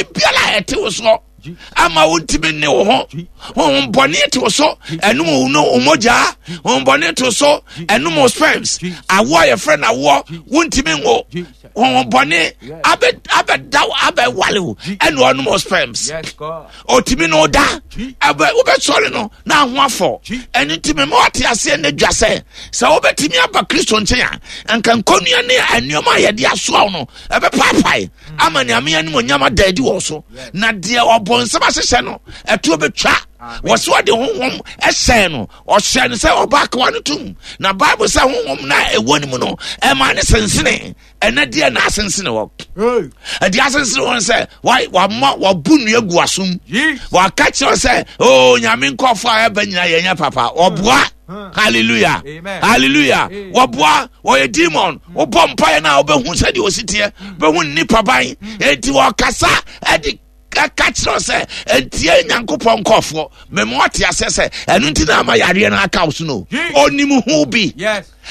bɔne biara a ɛte wo soɔ ama wontumi nne wo ho. Honhom bɔne te wo so, ɛnom wo no wo mogyaa. Honhom bɔne te wo so, ɛnom wo sperms. Awoɔ a yɛfrɛ no awoɔ, wontumi nwo. Honhom bɔne abɛda wo abɛwale wo, ɛna ɔnom wo sperms. Ɔtumi no da, ɛbɛ wobɛsɔre no na aho afɔ. Ɛno nti mema wate aseɛ ne dwa sɛ, sɛ wobɛtumi aba Kristo nkyɛn a, nka nkɔnnua ne nneɛma a yɛde asoa wo no ɛbɛpaapae ama Nyame animonyam ada adi wɔ so. Na deɛ ɔbɔnsam ahyehyɛ no ɛtoɔ bɛtwa. Wɔ so ɔde honhom ɛhyɛn no, ɔhyɛ no sɛ ɔba akoa no tom. Na Bible sɛ honhom no a ɛwɔ ne mu no ɛma ne sensene. Ɛnɛ deɛ na asensene hɔ. Ɛdeɛ asensene hɔ sɛ wama wabu nnua gu asom. Waka kyerɛ sɛ o Nyame nkɔfoɔ a ɛba nyina yɛnyɛ papa. Ɔboa. Hallelujah. Hallelujah. Wɔboa wɔyɛ demon. Wobɔ mpaeɛ no a wobɛhu sɛdeɛ ɔsi teɛ. Bɛhu nnipa ban. Enti wɔkasa ɛde ɛka kyerɛ sɛ ɛntie Nyankopɔn nkɔfoɔ. Mema ɔte aseɛ sɛ ɛno nti na ama yareɛ no aka wo so no. Ɔnim ho bi.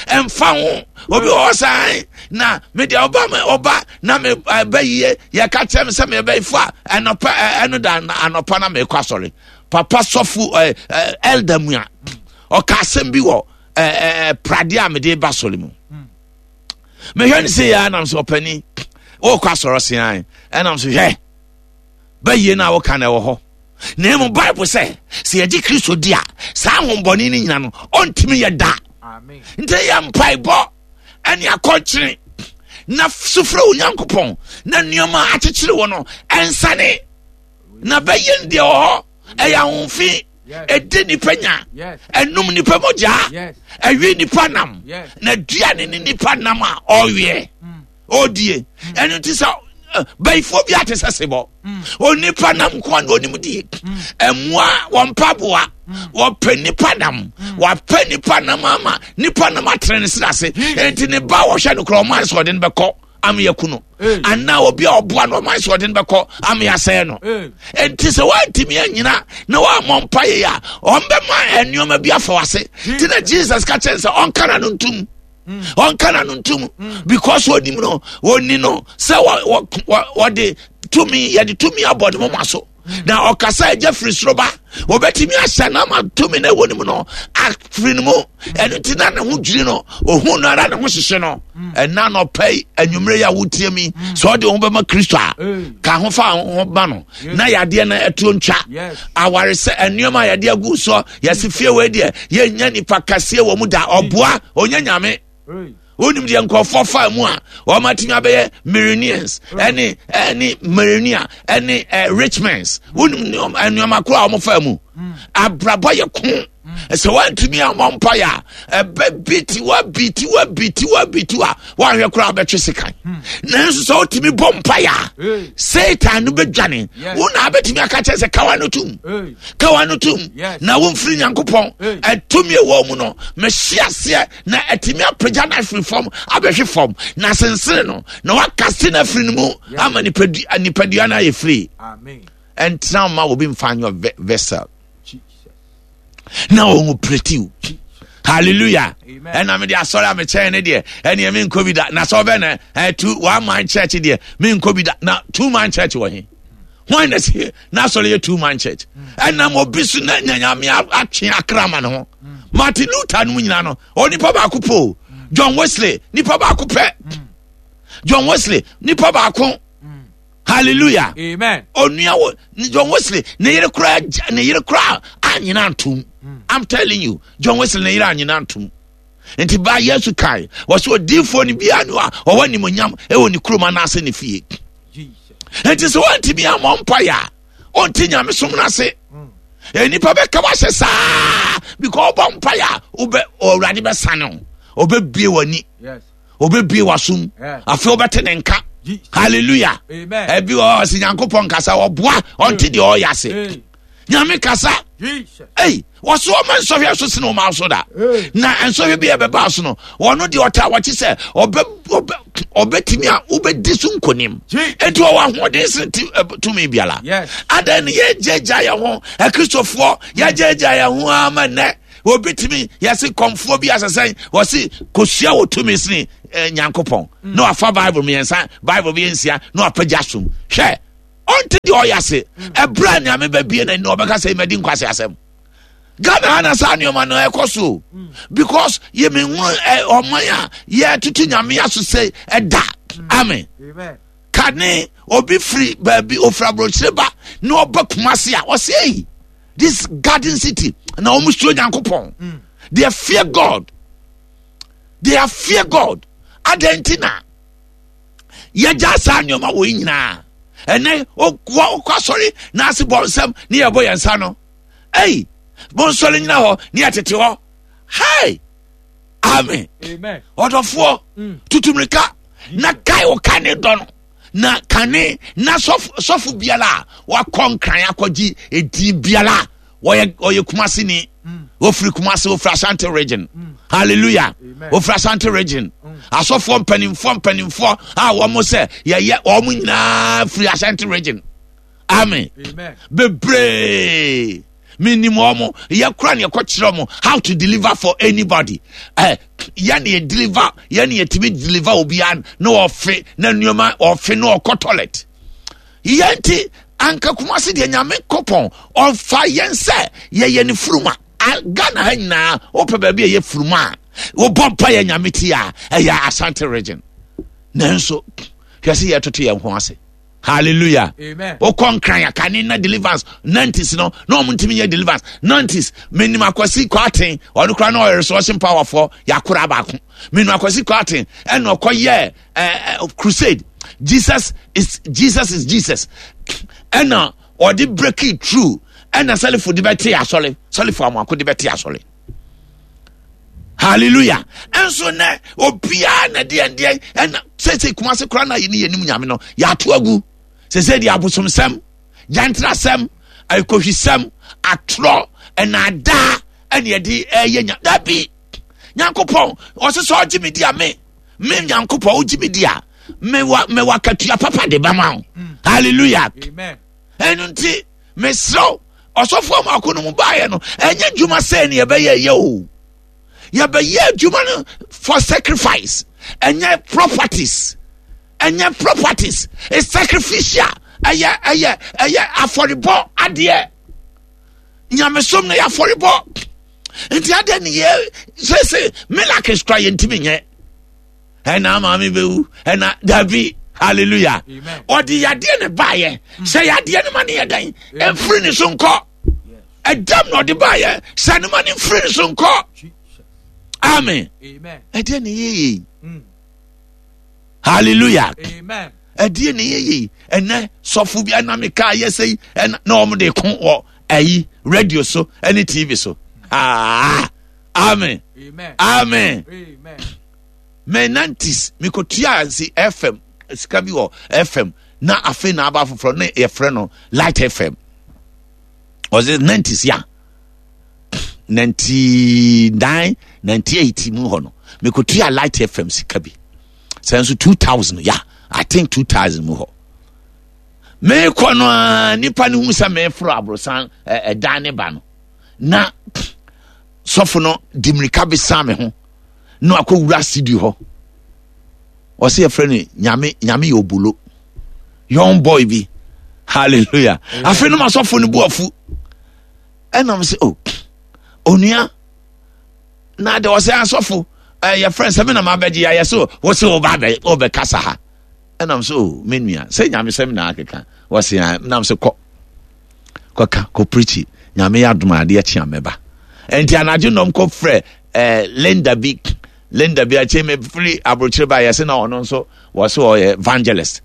Ɛmfa ho. Obi wɔ hɔ san na me deɛ ɔba me ɔba na me ɛbɛ yie yɛka kyerɛ me sɛ mebɛyifo a ɛnɔpa ɛno da anɔpa na mekɔ asɔre. Papa sɔfo ɛɛ elder mu a ɔka asɛm bi wɔ ɛɛ pradeɛ a mede ba sɔre mu. Mehwɛ no sɛ yɛ anam sɛ ɔpani wɔkɔ asɔre sean ɛnam so hwɛ bɛyie no a woka no ɛwɔ hɔ. Na mmom Bible sɛ sɛ yɛgye Kristo di a saa ahombɔne no nyina no ɔntumi yɛ da. Nti yɛ mpaebɔ ɛne akɔnkyene na sufrɛ Onyankopɔn na nneɛma akyekyere wɔ no ɛnsane na bɛyɛ no deɛ wɔ hɔ ɛyɛ ahomfi ɛdi nipa nya ɛnum nipa mogya ɛwi nipa nam na dua ne ne nipa nam a ɔweɛ ɔdie ɛno nti sɛ bayifoɔ bi ate sɛ sebɔ onipa nam nko na onim die ɛmoa wɔn mpaboa wɔpɛ nipa nam wɔapɛ nipa nam ama nipa nam atene ne sra ase nti ne ba wɔhwɛ no korɔ ɔmo ayɛ sɛ ɔde no bɛkɔ ama yɛku no anaa obi a ɔboa no ɔmo ayɛ sɛ ɔde no bɛkɔ ama yɛasɛe no nti sɛ wɔantumi anyina na wɔammɔ mpa yɛ a ɔmbɛma nneɛma bi afa wase nti na Jesus ka kyerɛ sɛ ɔnka na no ntom ɔnka na no ntom because onim no oni no sɛ wɔde tumi yɛde tumi abɔ ne moma so na ɔkasa agya firi soro ba wɔbɛtumi ahyɛ no ama tumi no ɛwɔ ne mu no afiri no mu ɛno nti na ne ho dwiri no ohun no ara ne ho hyehye no ɛna nɔpɛ yi anwummerɛ yi a wotie mi sɛ ɔde ho bɛma Kristo a ka ho fa ho ba no na yadeɛ no ɛtuo ntwa aware sɛ nneɛma a yɛde agu soɔ yɛse fie wei deɛ yɛnya nipa kɛseɛ wɔ mu da ɔboa ɔnyɛ nyame wonim deɛ nkurɔfoɔ faa mu a wɔn atumi abɛyɛ millionaires ɛne ɛne millionaire ɛne ɛ richmans wonim nneɛma koro a wɔn faa mu abrabɔ yɛ ko sɛ woantumi ammɔ mpaeɛ a ɛbɛ biti wa biti wa biti wa biti wa woanhwɛ koraa wobɛtwe sekan nanso sɛ wotumi bɔ mpaeɛ a Satan no bɛdwane wo na abɛtumi aka kyerɛ sɛ kawa no tom kawa no tom na womfiri Nyankopɔn ɛtumi ɛwɔ mu no mehye aseɛ na atumi apagya no afiri fam abɛhwe fam na sensene no na wakase no afiri no mu ama nipadua no ayɛ firi. Ɛntena ma obi mfa nyɛ vessel na wɔn pretiw. Hallelujah. Ɛna mede asɔre a mekyɛn ne deɛ ɛneɛ menkɔ bi da na sɛ ɔbɛ na ɛtu one man church deɛ menkɔ bi da na two man church wɔ he hwan na sie na asɔre yɛ two man church ɛnam obi so na nyanyame atwe akra ma ne ho Martin Luther no mu nyinaa no onipa baako po John Wesley nipa baako pɛ John Wesley nipa baako. Hallelujah. Amen. Onua wo John Wesley ne yere kura ne yere kura anyina ntom. I'm telling you, John Wesley ne yere anyina ntom. Nti ba Yesu kan wɔsɛ odiifoɔ no biara no a ɔwɔ animonyam ɛwɔ ne kurom anaasɛ ne fie. Nti sɛ wɔntumi ammɔ mpaeɛ a ɔnte nyamesom no ase. Nnipa bɛka wahyɛ saa because ɔbɔ mpaeɛ a wobɛ ɔwurade bɛsane wo ɔbɛbie w'ani. Yes. Obebie w'asom. Afei wobɛte ne nka. Hallelujah. Ebi wɔ hɔ sɛ Nyankopɔn kasa ɔboa ɔnte deɛ ɔyɛ ase. Nyame kasa. Ei, wɔso ɔma nsɔhwɛ so sene ɔma so da. Na nsɔhwɛ bi a ɛbɛba so no, ɔno deɛ ɔtaa wɔkye sɛ ɔbɛtumi a wobɛdi so nkonim. Enti ɔwɔ ahoɔden sene tumi biara. Adɛn ne yɛgyagya yɛn ho, Akristofoɔ, yɛgyagya yɛn ho ama nnɛ. Obi tumi yɛse kɔmfoɔ bi asɛsɛn wɔse kosua wɔ tumi sene eh, Nyankopɔn mm. na wafa Bible mmiɛnsa, Bible bi nsia na wapagya som. Hwɛ, Ɔnte deɛ ɔyɛ ase. Ɛberɛ a Nyame bɛbie n'ani na ɔbɛka sɛ madi nkwase asɛm. Ghana ha na saa nneɛma no ɛkɔ so because yɛmehunu ɔman a yɛtoto Nyame aso sɛ ɛda. Amen. Kane obi firi baabi ofiri aburokyire ba na ɔba Kumasi a ɔsɛ ei this garden city na wɔn suro Nyankopɔn. They fear God. They are fear God. Adɛn nti na yɛgya saa nneɛma wɔ yi nyinaa ɛnɛ wokɔ asɔre na ase bɔ nsɛm ne yɛbɔ yɛn nsa no ei bonsɔre nyina hɔ ne yɛtete hɔ hei amen ɔdɔfoɔ mm. tutu mirika na kae wo ka ne dɔ no na kane na sɔfo biara a wakɔ nkran akɔgye edin biara wɔyɛ ɔyɛ kumasi ni mm. ofiri kumasi ofiri ashanti region mm. hallelujah ofiri ashanti region mm. asɔfoɔ mpanimfoɔ mpanimfoɔ a wɔn sɛ yɛyɛ wɔn nyinaa firi ashanti region amen bebree menim wɔn yɛ kora ne yɛkɔ kyerɛ wɔn how to deliver for anybody ɛ yɛ ne yɛ deliver yɛ ne yɛtumi deliver obiara na ɔfe na nneɛma ɔfe na ɔkɔ toilet. Yɛn nti anka Kumasi deɛ Nyame kopɔn ɔfa yɛn sɛ yɛyɛ ne furuma. Ghana ha nyinaa wopɛ baabi a ɛyɛ furuma a wobɔ mpa yɛ Nyame ti a ɛyɛ Ashanti region. Nanso hwɛ sɛ yɛtoto yɛn ho ase. Hallelujah. Wokɔ nkran a kane na deliverance 90s no na wɔn ntumi nyɛ deliverance 90s menim akwasi kwaten ɔno koraa na ɔyɛ resurrection power fɔ yɛakora baako menim akwasi kwaten ɛna ɔkɔyɛ crusade jesus is jesus is jesus ɛna ɔde break it through ɛna sɛlifo de bɛte asɔre sɛlifo amoako de bɛte asɔre hallelujah ɛnso nɛ obiara na deɛ deɛ ɛna sese kumase koraa na yɛne yɛnim nyame no yɛato agu sese deɛ abosomsɛm gyantrasɛm akohwisɛm atorɔ ɛnaadaa ɛne yɛde ɛyɛ nya dabi nyankopɔn ɔsɛ sɛ ɔgye me di a me me nyankopɔn wogye me di a mewɔ mewɔ akatua papa de bɛma wo mm. hallelujah ɛno nti mesrɛ ɔsɔfoɔ mako no mu baeɛ no ɛnyɛ adwuma sɛ ne yɛbɛyɛ yɛ o yɛbɛyɛ adwuma no for sacrifice ɛnyɛ properties ɛnyɛ properties it's sacrificial ɛyɛ ɛyɛ ɛyɛ afɔrebɔ adeɛ nyamesom no yɛ afɔrebɔ nti adɛn ne yɛ sese miracles kora yɛntumi nyɛ ɛna maame bɛwu ɛna dabi hallelujah ɔde yadeɛ ne baayɛ hmm. sɛ yadeɛ no ma ne yɛ dɛn ɛmfiri ne so nkɔ ɛdam na ɔde baayɛ sɛ ne ma ne mfiri ne so nkɔ amen ɛdeɛ ne yɛyɛ hmm. hallelujah ɛdeɛ ne yɛyɛ ɛnɛ sɔfo bi ɛna meka yɛ sɛ ɛna na wɔn de ko wɔ ayi radio so ɛne tv so aa amen amen mɛ nantis mekɔtua nsi fm sika bi wɔ fm na afei na aba foforɔ ne yɛfrɛ no light fm ɔsɛ nantis ya 99 98 mu hɔ no mekɔtua light fm sika bi sɛ nso 2000 ya i think 2000 mu hɔ meekɔ no a nipa no hu sɛ meeforo aborosan ɛdan ne ba no na sɔfo no di mmirika bɛsa me ho na akɔwura studio hɔ ɔsɛ yɛfrɛ no nyame nyame yɛ obolo young boy bi hallelujah afei no ma sɔfo no bu afu ɛnam sɛ oh onua na de ɔsɛ asɔfo yɛfrɛ sɛ me na mabɛgye yɛayɛ so wo sɛ woba wobɛkasa ha ɛnam sɛ o me nua sɛ nyamesɛm na akeka wɔse a nam sɛ kɔ kɔka kɔ preachi nyame yɛ adom adeɛ kye a mɛba ɛnti anadwo nɔm kɔ frɛ eh, Linda bi Linda bi akyɛ me firi aburokyire ba yɛse na ɔno nso wɔse ɔyɛ evangelist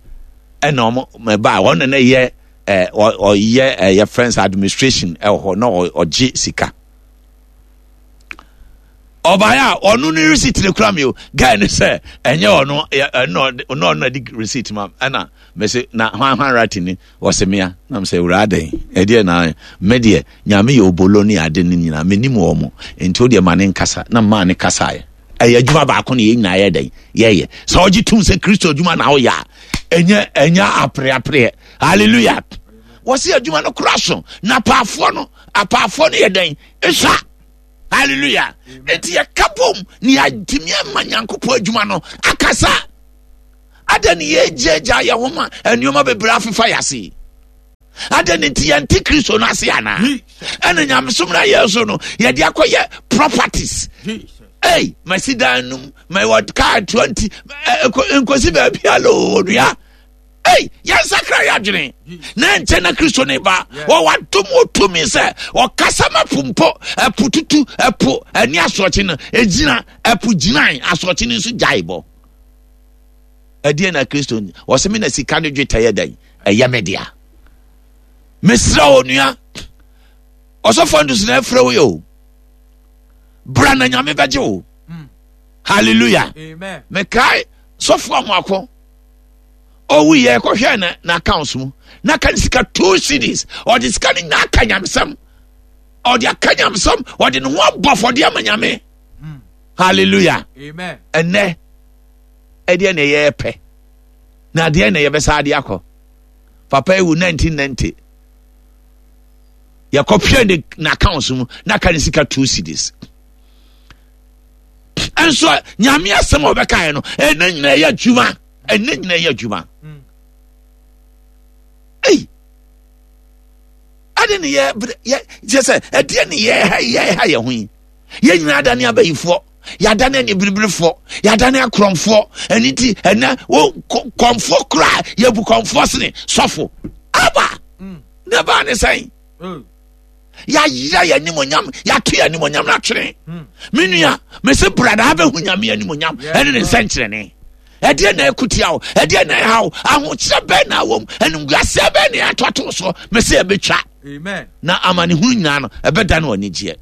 ɛna ɔmo mɛba ɔno na yɛ eh, ɔyɛ ɛyɛ eh, friends administration ɛwɔ hɔ na ɔgye sika ɔbaeɛ a ɔno ne receipt no kura mi o guy no sɛ ɛnyɛ ɔno ɛno ɔno ɔno de receipt ma ɛna mɛsɛ na hwan hwan writing ni wɔsɛ mea na msɛ wura adɛn ɛdeɛ na me deɛ nyame yɛ obolo ne ade ne nyinaa menim wɔn mo nti o deɛ ma ne nkasa na maa ne kasaeɛ ɛyɛ adwuma baako na yɛn nyinaa yɛ dɛn yɛyɛ sɛ ɔgye tum sɛ kristo adwuma na ɔyɛ a ɛnyɛ ɛnyɛ apereapereɛ hallelujah wɔsi adwuma no kora so na apaafoɔ no apaafoɔ no yɛ dɛn ɛsua hallelujah nti yɛka bom ne yɛatumi ama nyankopɔn adwuma no akasa ada ne yɛgyaagyaa yɛ ho ma nneɛma bebree afefa yɛ ase. Adɛn ne nti yɛnte Kristo no ase anaa? Ɛna nyamesom no ayɛ so no, yɛde akɔyɛ properties. Ei, masi dan num, mewɔ kaa 20, nkosi baabi ala onua. Ei, yɛnsakra yɛ adwene. Na ɛnkyɛ na Kristo ne ba. Wɔwɔ adom wɔ tumi sɛ ɔkasa ma po mpo, ɛpo tutu, ɛpo ɛne asorɔkye no, ɛgyina, ɛpo gyinae, asorɔkye no nso gyae bɔ. Ɛdeɛ na Kristo ni. Ɔsɛ me na sika ne dwetɛ yɛ dɛn? Ɛyɛ me dea. Mesrɛ wo nua, ɔsɔfo Andrews na ɛfrɛ wo yɛ o. Bra na Nyame bɛgye wo. Hmm. Hallelujah. Amen. Mekae sɔfo amoako. Owu yɛ kɔhwɛ na na accounts mu. Na ka ne sika two cities. Ɔde sika no nyinaa ka nyamesɛm. Ɔde aka nyamesɛm. Ɔde ne ho abɔ afɔdeɛ ama Nyame. Hmm. Hallelujah. Amen. Ɛnɛ ɛdeɛ na ɛyɛ pɛ na adeɛ na yɛbɛsa adeɛ akɔ papa ewu 1990 yɛkɔpɛ ne n'accounts mu na aka ne sika two cedis nso nyame asɛm a ɔbɛkaeɛ no ɛnɛ nyina ɛyɛ adwuma ɛnɛ nyina ɛyɛ adwuma mm. ei ade ne yɛ yɛ kyɛ sɛ ɛdeɛ ne yɛ ha yɛ ha yɛ ho yi yɛn nyinaa adane abayifoɔ yɛadane anibiriberefoɔ yɛadane akorɔmfoɔ ɛno nti ɛnɛ wo kɔmfoɔ koraa yɛbu kɔmfoɔ sene sɔfo aba mm. ne baa ne sɛn mm. yɛayera yɛn animonyam yɛato yɛn animonyam no atwene mm. me nua mese bradaa bɛhu nyame animonyam ɛne ne nsɛnkyerɛne ɛdeɛ na ɛkutia wo ɛdeɛ na ɛha wo ahokyerɛ bɛn na awɔ mu animguaseɛ bɛn na ɛatoato so mese ɛbɛtwa na amanehunu nyinaa no ɛbɛda no anigyeɛ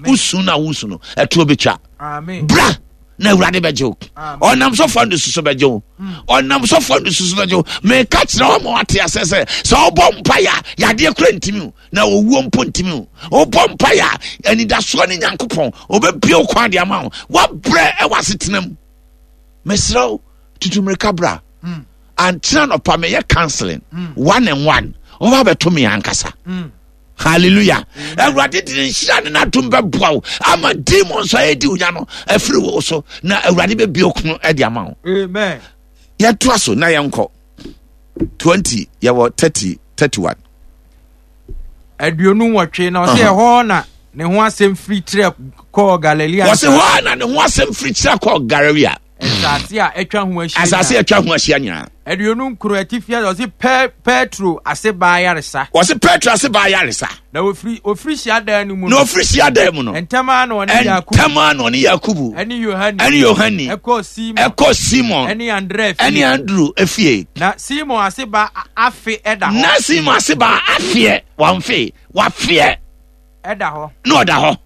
wosu no a wosu no ɛtoɔ bɛtwa bra na awurade bɛgye wo ɔnam sɔfoɔ no susu bɛgye wo hmm. ɔnam sɔfoɔ no susu bɛgye wo meka kyerɛ wo ma wate asɛ sɛ sɛ wobɔ mpaeɛ a yadeɛ kora ntimi wo na owuo mpo ntimi wo wobɔ mpaeɛ a anidasoɔ ne nyankopɔn ɔbɛbie wo kwan de ama wo woabrɛ ɛwɔ asetena mu mesrɛ wo tutu mmirika bra hmm. ankyena nɔpa meyɛ counseling hmm. one and one wɔba bɛto me ankasa hmm. hallelujah awurade de ne nhyira ne n'adom bɛboa wo ama demons a ɛdi wo nya no afiri wo so na awurade bɛbie okunu de ama wo yɛtoa so na yɛnkɔ 20 yɛwɔ 30 31 28 na ɔsɛ ɛhɔ na ne ho asɛm firi kyerɛ kɔɔ Galilea. Wɔsi hɔ na ne ho asɛm firi kyerɛ kɔɔ Galilea. Nsase a atwa ho ahyia. Asase a atwa ho ahyia nyinaa. 29 atifi ɔsi Petro ase baa yaresa. Wɔsi Petro ase baa yaresa. Na ofiri ofiri hyiadan no mu no. Na ofiri hyiadan mu no. Ntɛm ara na ɔne Yakubu. Ntɛm ara na ɔne Yakubu. Ɛne Yohane. Ɛne Yohane. Ɛkɔɔ Simon. Ɛkɔɔ Simon. Ɛne Andrea fie. Ɛne Andrew efie. Na Simon ase ba afe ɛda hɔ. Na Simon ase ba afeɛ wɔnfe wafeɛ. Ɛda hɔ. Na ɔda hɔ.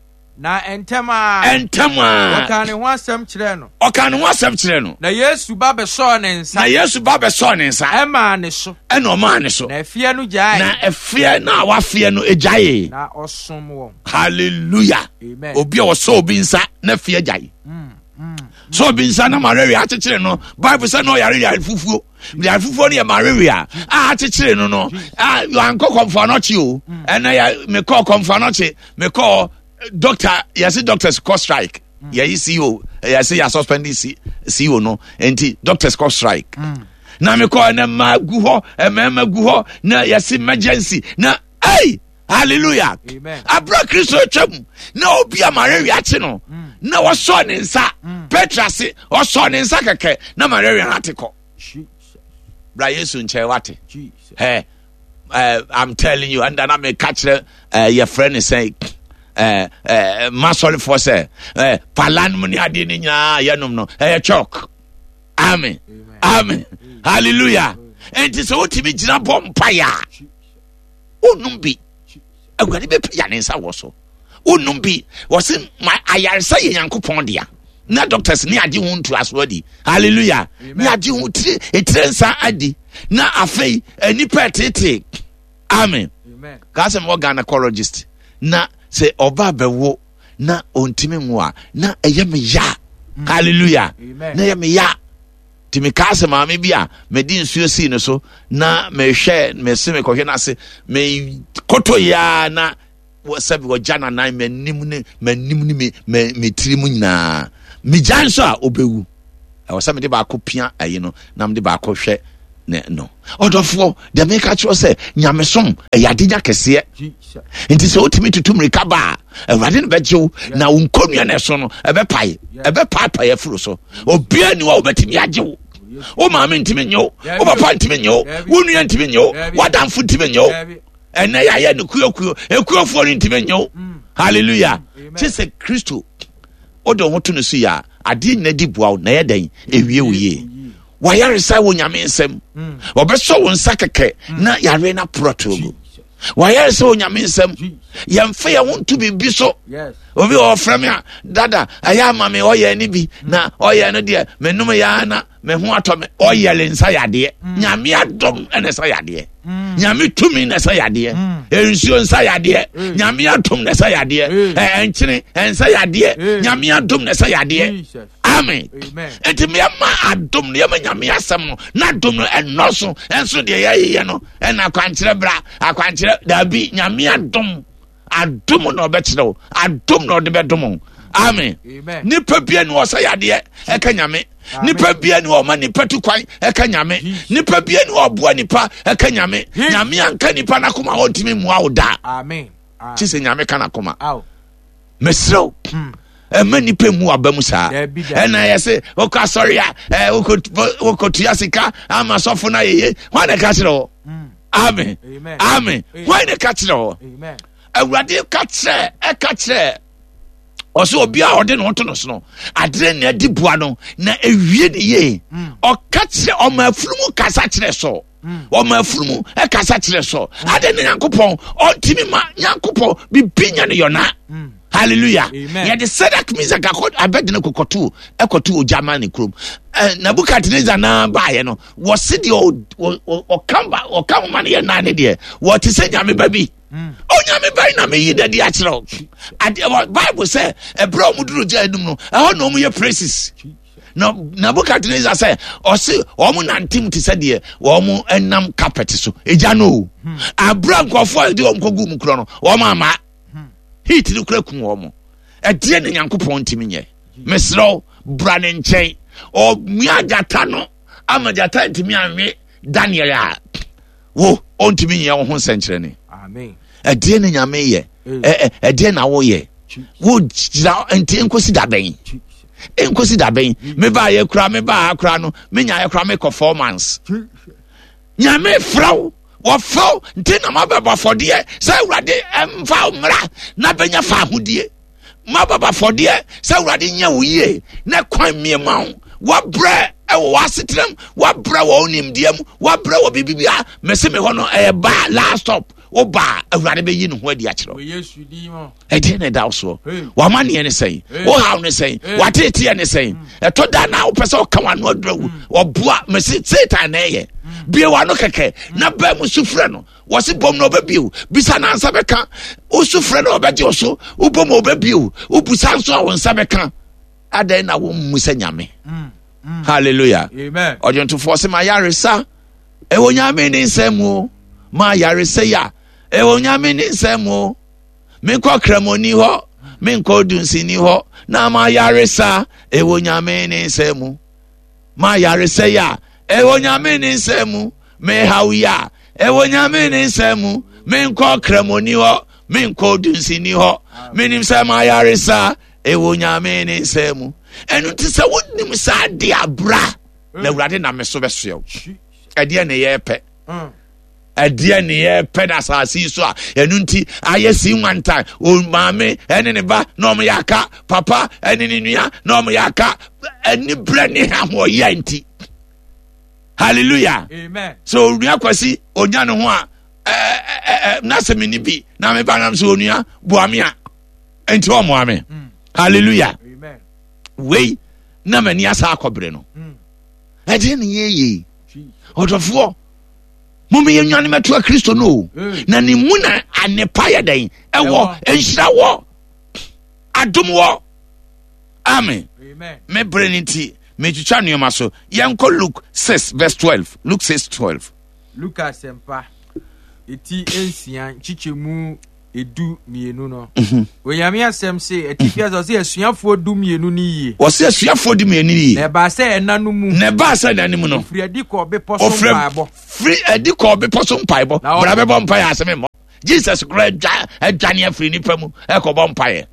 Na ntɛm ara. Ntɛm ara. Ɔkaa ne ho asɛm kyerɛɛ no. Ɔkaa ne ho asɛm kyerɛɛ no. Na Yesu ba bɛsɔɔ ne nsa. Na Yesu ba bɛsɔɔ ne nsa. Ɛmaa ne so. Ɛna ɔmaa ne so. Na ɛfeɛ no gyaee. Na ɛfeɛ no a wafeɛ no gyaee. Na ɔsom wɔn. Hallelujah. Amen. Obi a ɔsɔ obi nsa na ɛfeɛ gyae. Mm, Sɛ obi nsa na malaria akyekyere no, Bible sɛ na ɔyare yare fufuo. Yare fufuo no yɛ malaria a akyekyere no no. A ankɔ kɔmfoɔ anɔkye o. Mm. Ɛnna yɛ mekɔɔ kɔmfoɔ anɔkye mekɔɔ doctor yɛse doctors kɔ strike. Mm. Yɛyi CEO yɛse yɛ suspend CEO no nti doctors kɔ strike. Mm. Na mekɔɔ ɛnna mmaa gu hɔ mmarima gu hɔ na yɛse emergency na ei. Hallelujah. Abira Kristo atwam na obi a malaria akye no mm. na wɔsɔ ne nsa mm. Petra se ɔsɔ ne nsa kɛkɛ na malaria no ate kɔ. Bra Yesu nkyɛn wate. Hey, uh, I'm telling you, and na meka kyerɛ uh, yɛ frɛ ne sɛ uh, uh, masɔrefoɔ sɛ uh, pala nom ne adeɛ no nyinaa yɛnom no ɛyɛ chalk. Amen. Amen. Hallelujah. Enti sɛ wotumi gyina bɔ mpaeɛ a wonnom bi awurade bɛpagya ne nsa wɔ so wonnom bi wɔse ma ayaresa yɛ nyankopɔn dea na doctors ne agye ho ntoaso adi hallelujah ne agye ho tire etire nsa adi na afei nnipa ɛtete amen kaa sɛ mewɔ gynecologist na sɛ ɔba bɛwo na ɔntumi nwo a na ɛyɛ me ya mm. hallelujah na ɛyɛ me ya Nti mekaa sɛ maame bi a mede nsuo sii no so na mehwɛ mese mekɔhwɛ no ase mekoto yia na sɛbi wɔgya nanan m'anim ne m'anim ne me me me tiri mu nyinaa megya nso a ɔbɛwu ɛwɔ sɛ mede baako pia ayi no na mede baako hwɛ. ne no. Ɔdɔfoɔ, deɛ meka kyerɛ sɛ nyamesom ɛyɛ adenya kɛseɛ. Nti sɛ wotumi tutu mmirika ba a, Awurade no bɛgye wo na wo nkonnua no ɛso no ɛbɛpae, ɛbɛpaapae afiri so. Obiara ni hɔ a wobɛtumi agye wo. Wo maame ntumi nye wo, wo papa ntumi nye wo, wo nua ntumi nye wo, w'adamfo ntumi nye wo. Ɛnɛ yɛayɛ no kuokuo, ekuofoɔ no ntumi nye wo. Hallelujah. Kye sɛ Kristo wode wo ho to no so yɛ a, adeɛ nyina di boa wo na ɛyɛ dɛn ɛwie wo yie. Wayaresa wɔ Nyame nsɛm. Wɔbɛsɔ wo nsa kɛkɛ na yare no aporɔ to agu. Wayaresa wɔ Nyame nsɛm. Yɛmfa yɛn ho nto biribi so. Obi wɔ ɔfrɛ me a, dada, ɛyɛ ama me ɔyɛ ne bi na ɔyɛ no deɛ menom yɛ na me ho atɔ me. Ɔyɛ le nsa yadeɛ. Nyame adom na ɛsa yadeɛ. Nyame tumi na ɛsa yadeɛ. Nsuo nsa yadeɛ. Nyame adom na ɛsa yadeɛ. Ɛnkyene nsa yadeɛ. Nyame adom na ɛsa yadeɛ. Amen. Nti meyɛma adom no, yɛma Nyame asɛm no, na adom no ɛnɔso. Ɛnso deɛ yɛyeyɛ no, ɛna akwankyerɛ bra, akwankyerɛ, daabi, Nyame adom. Adom na ɔbɛkyerɛ wo, adom na ɔde bɛdom wo. Amen. Nipa bia ni ɔsɛ yadeɛ ɛka Nyame. Nipa bia ni ɔma nipa tu kwan ɛka Nyame. Nipa bia ni ɔboa nipa ɛka Nyame. Nyame anka nipa n'akoma ɔntumi mua wo da. Amen. Kye sɛ Nyame ka n'akoma. Mesrɛ wo. Ɛma nipa mu aba mu saa. Ɛna yɛ se wokɔ asɔre a wokɔtua sika ama sɔfo no ayɛye. Hwan na ɛka kyerɛ wo? Amen. Amen. Hwan na ɛka kyerɛ wo? Awurade ka kyerɛ ɛka kyerɛ ɔsɛ obi a ɔde ne ho to no so no adeɛ na adi boa no na ewie ne yie. Ɔka kyerɛ ɔma afunumu kasa kyerɛ sɔ. Ɔma afunumu ɛkasa kyerɛ sɔ. Ade ne Nyankopɔn ɔntumi ma Nyankopɔn bibi nya ne yɔna. Hallelujah. Yɛde Sadak Misak akɔ Abednego kɔkɔto ɛkɔto ogya ma ne kurom. Nebukadnezar naa baayɛ no wɔsi deɛ ɔka ba ɔka ho ma no yɛ nan ne deɛ wɔte sɛ nyame ba bi. Onyame ba yi na meyi dadi akyerɛ wo. Adeɛ Bible sɛ ɛberɛ a wɔn duru gya anim no ɛhɔ na wɔn yɛ praises. Na Nebukadnezar sɛ ɔse wɔn nante mu te sɛ deɛ wɔn nam carpet so egya no o. Abira nkurɔfoɔ a yɛde wɔn kɔgu mu korɔ no wɔn ama heat no kura kum wɔn. Ɛdeɛ na Nyankopɔn ntumi nyɛ. Mesrɛ wo bra ne nkyɛn. Ɔmia gyata no ama gyata ntumi anwe Daniel a wo ɔntumi nyɛ wo ho nsɛnkyerɛnne. Ɛdeɛ na Nyame yɛ. Ɛdeɛ na woyɛ. Wo gyina nti nkosi da bɛn? Nkosi da bɛn? Mebaa yɛ kura mebaa ha kura no menya yɛ kura mekɔ 4 months. Nyame frɛ wo wɔfrɛ wo nti na mabɛbɔ afɔdeɛ sɛ Awurade mfa wo mmra na bɛnya fa ahodie. Mabɛbɔ afɔdeɛ sɛ Awurade nyɛ wo yie na kwan mmie ma wo. Wabrɛ ɛwɔ w'asetenam, wabrɛ wɔ wo nimdeɛ mu, wabrɛ wɔ biribi bia. Mese me hɔ no ɛyɛ ba last stop. Wo ba Awurade bɛyi ne ho adi akyerɛ wo. Ɛdeɛ na ɛda wo soɔ. W'amanneɛ ne sɛn? Wo haw ne sɛn? W'ateeteɛ ne sɛn? Ɛtɔ da na wopɛ sɛ ɔka w'ano adura wu. Ɔboa mese Satan na ɛyɛ. Bue w'ano kɛkɛ na baa mu su frɛ no. Wɔse bom na ɔbɛbie wo. Bisa na nsa bɛka. Wosu frɛ no ɔbɛgye wo so. Wobom ɔbɛbie wo. Wobusa nso a wo nsa bɛka. Adɛn na wommu sɛ Nyame? Hallelujah. Ɔdwontofoɔ se ma yaresa ɛwɔ Nyame ne nsɛm mu. Ma yaresa yi a ɛwɔ Nyame ne nsɛm mu. Menkɔ kramoni hɔ, menkɔ dunsini hɔ, na ma yaresa ɛwɔ Nyame ne nsɛm mu. Ma yaresa yi a ɛwɔ Nyame ne nsɛm mu. Mehaw yi a ɛwɔ Nyame ne nsɛm mu. Menkɔ kramoni hɔ, menkɔ dunsini hɔ. Menim sɛ ma yaresa ɛwɔ Nyame ne nsɛm mu. Ɛno nti sɛ wonim saa de abra na Awurade nam me so bɛsoɛ wo. Ɛdeɛ ne yɛpɛ. Ɛdeɛ ne yɛpɛ no asase yi so a ɛno nti ayɛ si nwantan. O maame ɛne ne ba na ɔmo yɛ aka, papa ɛne ne nua na ɔmo yɛ aka. Ɛne brɛ ne ahoɔyɛ nti. Hallelujah. Amen. So onua Kwasi onya ne ho a na sɛ menni bi na meba nam sɛ onua boa me a nti ɔmmoa me. Hallelujah. Amen. Wei na m'ani asa akɔbere no. Ɛdeɛ ne yɛyɛ. Ɔdɔfoɔ, momma yɛnwane mɛtoa Kristo no o. Na ne mu na anepa yɛ dɛn? Ɛwɔ, nhyira wɔ, adom wɔ. Amen. Me bere no nti, metwitwa nneɛma so. Yɛnkɔ Luke 6 verse 12. Luke 6 12. Luka asɛmpa, eti 6 nkyekyɛmu. 12 no. Onyame asɛm se, atifi asɛ ɔse asuafoɔ 12 no yie. Ɔse asuafoɔ 12 yie. Na ɛbaa sɛ ɛna no mu. Na ɛbaa sɛ ɛna no mu no. Ɔfiri adi kɔɔ bepɔ so mpaebɔ. Firi adi kɔɔ bepɔ so mpaebɔ. Bra bɛbɔ mpaeɛ asɛm mmɔ. Jesus kora adwane afiri nipa mu ɛkɔbɔ mpaeɛ.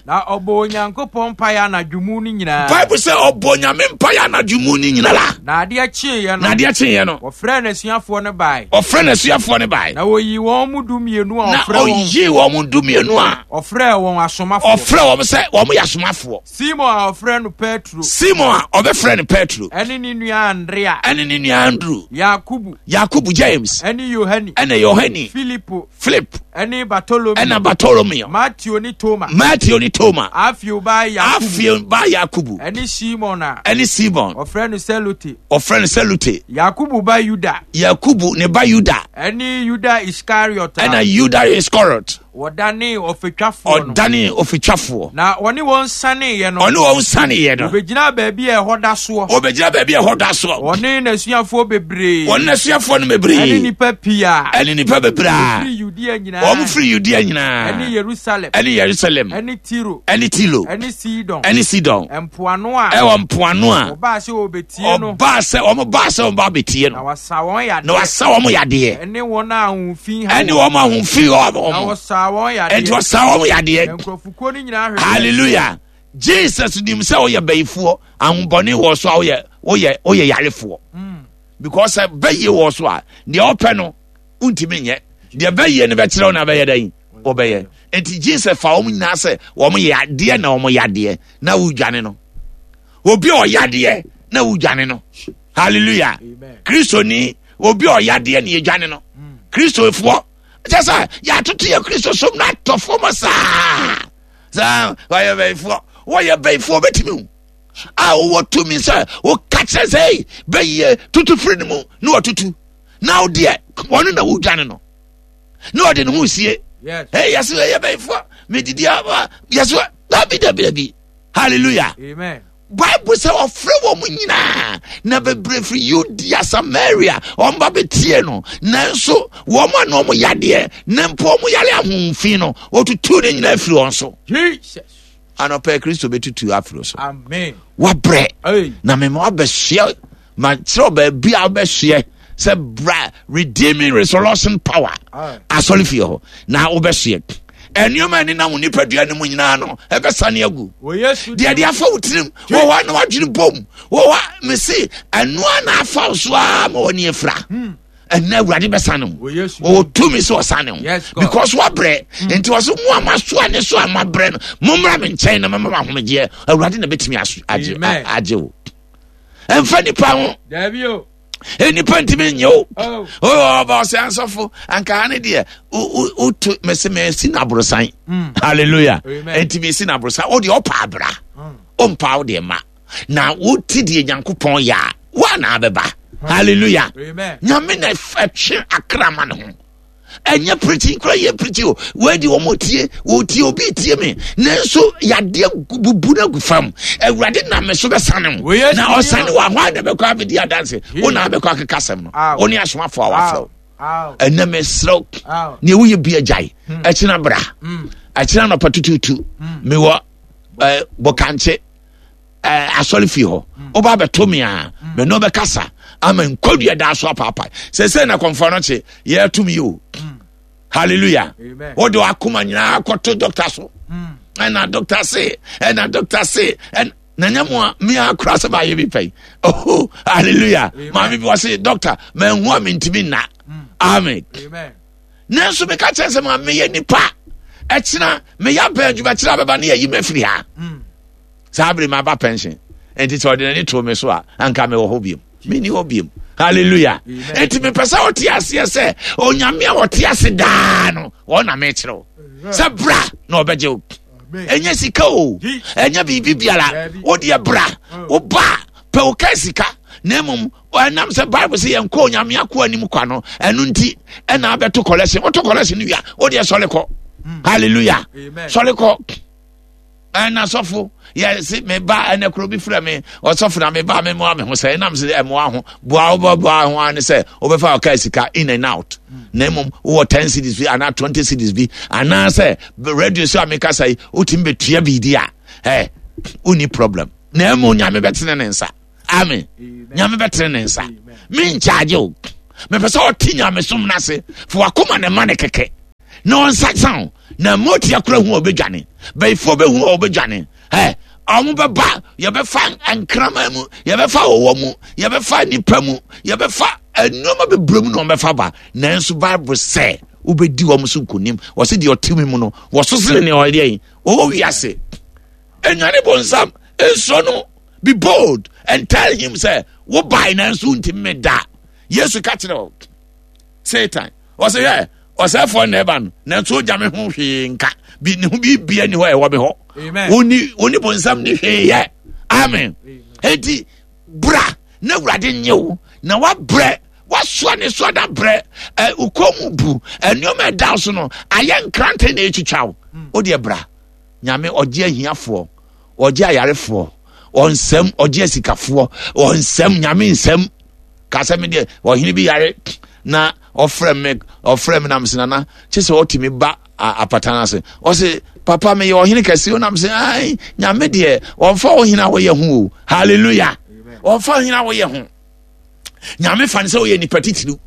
Na ɔbɔ Onyankopɔn mpaeɛ anadwo mu no nyinaa. Bible sɛ ɔbɔ Nyame mpaeɛ anadwo mu no nyinaa. Na adeɛ kyeeɛ no. Na adeɛ kyeeɛ no. Ɔfrɛɛ n'asuafoɔ no bae. Ɔfrɛɛ n'asuafoɔ no bae. Na ɔyii wɔn mu 12 a ɔfrɛ wɔn. Na ɔyii wɔn mu 12 a. Ɔfrɛɛ wɔn asomafoɔ. Ɔfrɛɛ wɔn sɛ wɔn yɛ asomafoɔ. Simon a ɔfrɛ no Petro. Simon a ɔbɛfrɛ no Petro. Ɛne ne nua Andrea. Ɛne ne nua Andrew. Yakubu. Yakubu James. Ɛne Yohane. Ɛne Yohane. Filipo. Philip. Ɛne Bartolomeo. Ɛna Bartolomeo. Mateo ne Toma. Mateo ne Toma. Alfeo ba Yakubu. Alfeo ba Yakubu. Ɛne Simon a. Ɛne Simon. Ɔfrɛ no Selote. Ɔfrɛ no Selote. Yakubu ba Yuda. Yakubu ne ba Yuda. Ɛne Yuda Iskariot. Ɛna Yuda Iskariot. Wɔdanee ɔfatwafoɔ no. Ɔdanee ɔfatwafoɔ. Na ɔne wɔn saneeɛ no. Ɔne wɔn saneeɛ no. Ɔbɛgyinaa baabi a ɛhɔ da soɔ. Ɔbɛgyina baabi a ɛhɔ da soɔ. Ɔne n'asuafoɔ bebree. Ɔne n'asuafoɔ no bebree. Ɛne nnipa pii a. Ɛne nnipa bebree a. Wɔfiri Yudea nyinaa. Wɔn firi Yudea nyinaa. Ɛne Yerusalem. Ɛne Yerusalem. Ɛne Tiro. Ɛne Tiro. Ɛne Sidon. Ɛne Sidon. Mpoano a. Ɛwɔ mpoano a. Wɔbaa sɛ wɔbɛtie no. Ɔbaa sɛ wɔn baa sɛ wɔn ba bɛtie no. Na wasa wɔn yadeɛ. Na wasa wɔn yadeɛ. Ɛne wɔn a ahofi ha Ɛne wɔn a ahofi ha wɔn. Na wɔsaa wɔn yadeɛ. Ɛnti wɔsaa wɔn yadeɛ. Na nkurɔfokuo no nyinaa hwehwɛ. Hallelujah. Jesus nim sɛ woyɛ bayifoɔ, ahobɔne wɔ so a woyɛ woyɛ woyɛ yarefoɔ. Because sɛ bɛyie wɔ so a, deɛ ɔpɛ no wontumi nyɛ. Deɛ bɛyie no bɛkyerɛ wo na bɛyɛ dɛn? Wɔbɛyɛ. Nti Jesus fa wɔn nyinaa sɛ wɔn yɛ adeɛ na wɔn yadeɛ na wodwane no. Obi a ɔyadeɛ na wodwane no. Hallelujah. Kristoni obi a ɔyadeɛ na yɛdwane no. Kristofoɔ kyɛ sɛ yɛatoto yɛ Kristo som no atɔ fam saa. Saa wɔyɛ bɛyifoɔ wɔyɛ bɛyifoɔ bɛtumi wo a wowɔ tumi sɛ woka kyerɛ sɛ ei bɛyie tutu firi no mu na wɔtutu na wo deɛ wɔno na wodwane no na ɔde ne ho sie. Hey, yɛsɛ yɛyɛ bɛyifoɔ medidi a yɛsɛ dabi dabi dabi. Hallelujah. Amen. Bible sɛ ɔfrɛ wɔn nyinaa na bebree firi Yudea Samaria wɔn ba bɛtie no nanso wɔn a na wɔn yadeɛ na mpo wɔn yare ahohomfi no wɔtutu ne nyinaa firi wɔn so. Jesus. Anɔpɛ Kristo bɛtutu afiri so. Amen. Wabrɛ Hey. na mema wabɛsoɛ ma kyerɛ baabi a wobɛsoɛ sɛ bra redeeming resurrection power asɔre fie hɔ na wobɛsoɛ nneɛma a ɛnenam wo nipadua no mu nyinaa no ɛbɛsane agu deɛ de afa wo tirim wɔ hɔ a na wadwene bom wɔ hɔ a mese ɛnoa na afa wo so a ma w'ani afira hmm. ɛnna awurade bɛsane ho ɔwɔ tumi sɛ ɔsane ho because wabrɛ hmm. nti ɔsɛ mo a masoa ne so a mabrɛ no mommra me nkyɛn na mɛma ahomegyeɛ awurade na bɛtumi agye wo ɛmfa nipa ho nnipa ntumi nyɛ o oh. Oh, ɔba ɔsɛ asɔfo anka ha ne deɛ woto mese mesi no aborosan hmm. halleluya nti mesi no aborosan wo deɛ ɔpa abra ɔmpa hmm. wo deɛ ma na wote deɛ nyankopɔn yɛ a woa na abɛba hmm. halleluya nyame na ɛtwe akra ma ne ho ɛnyɛ preaching kora yɛ preaching o wɔadi wɔn tie wɔtie obi tie me nanso yadeɛ bubu no agu fam awurade nam me so bɛsane wo na ɔsane wɔ ahɔ a na bɛkɔ abɛdi adanse wo na abɛkɔ akeka asɛm no wo ne asomafoɔ a wafrɛ wo ɛnɛ mesrɛ wo neɛ woyɛ bi agyae hmm. ɛkyena bra hmm. ɛkyena nɔpa tututu hmm. mewɔ bɔkankye Eh, asɔre fie hɔ woba abɛto me a me ne wobɛkasa ama nkɔdua daa so apaapae sɛ sɛ na kɔmfoɔ no kye yɛatom yi o hallelujah wode wakoma nyinaa kɔto dɔkta so ɛna dɔkta se ɛna dɔkta se na nyɛ mo a me a kora sɛ maayɛ bi pɛn oh hallelujah maame bi wɔ se dɔkta manhu a mentumi nna amen nanso meka kyerɛ sɛ ma meyɛ nipa ɛkyena meyɛ abɛn adwuma kyerɛ abɛba ne yɛyi mafiri ha mm. Saa bere maba pension nti sɛ ɔde n'ani too me so a anka mewɔ hɔ biom menni hɔ biom hallelujah nti mepɛ sɛ ɔte aseɛ sɛ onyame a ɔte ase daa no wɔn na mekyerɛ wo sɛ bra na ɔbɛgye wo ɛnyɛ sika o ɛnyɛ biribi biara wodeɛ bra woba pɛ wo ka sika na mmom ɛnam sɛ bible sɛ yɛnkɔ onyame akoa anim kwa no ɛno nti ɛna abɛto kɔlɛsen woto kɔlɛsen no wia wodeɛ sɔre kɔ hmm. hallelujah sɔre kɔ. Ɛna sɔfo yɛse me ba ɛnɛ koro bi frɛ me ɔsɔfo na me ba me mmoa me ho sɛ ɛnam sɛ ɛmmoa ho boa wobɛboa ho ara ne sɛ wobɛfa ɔka sika in and out na mmom wowɔ 10 cities bi anaa 20 cities bi anaasɛ radio so a mekasa yi wotumi bɛtua biribi a ɛ wonni problem na mmom Nyame bɛtene ne nsa. Amen. Nyame bɛtene ne nsa. Menkyagye o. Mepɛ sɛ ɔte nyamesom no ase fa wakoma ne ma ne kɛkɛ na ɔnsaksa wo na motia kora hu a ɔbɛdwane bɛyifoɔ bɛhu a ɔbɛdwane ɛ ɔmo bɛba yɛbɛfa nkraman mu yɛbɛfa ɔwɔ mu yɛbɛfa nipa mu yɛbɛfa nneɛma bebree mu na ɔmbɛfa ba nanso bible sɛ wobɛdi wɔn so nkonim wɔsi deɛ ɔte mu no wɔso sene nea ɔyɛ yi ɔwɔ wiase enwane bonsam nsɔ no be bold and tell him sɛ wobae nanso wontumi me da yesu ka kyerɛ o satan ɔsɛ hwɛ ɔsɛfoɔ na ɛba no nanso ogya me ho hwee nka bi ne ho biribia ni hɔ ɛwɔ me hɔ woni woni bonsam ne hwee yɛ amen enti bra na awurade nye wo na wabrɛ wasoa ne soa da brɛ ɛ ukɔ mu bu nneɛma ɛda so no ayɛ nkrante na etwitwa wo hmm. o deɛ bra nyame ɔgye ahiafoɔ ɔgye ayarefoɔ ɔnsɛm ɔgye asikafoɔ ɔnsɛm nyame nsɛm Ka sɛ me deɛ ɔhene bi yare na ɔfrɛ me ɔfrɛ me nam sɛ nana kye sɛ ɔtumi ba apata no ase ɔse papa meyɛ ɔhene kɛse ɔnam sɛ ai nyame deɛ ɔmfa ɔhene a wɔyɛ ho o hallelujah ɔmfa ɔhene a wɔyɛ ho nyame fa no sɛ ɔyɛ nipa titiriw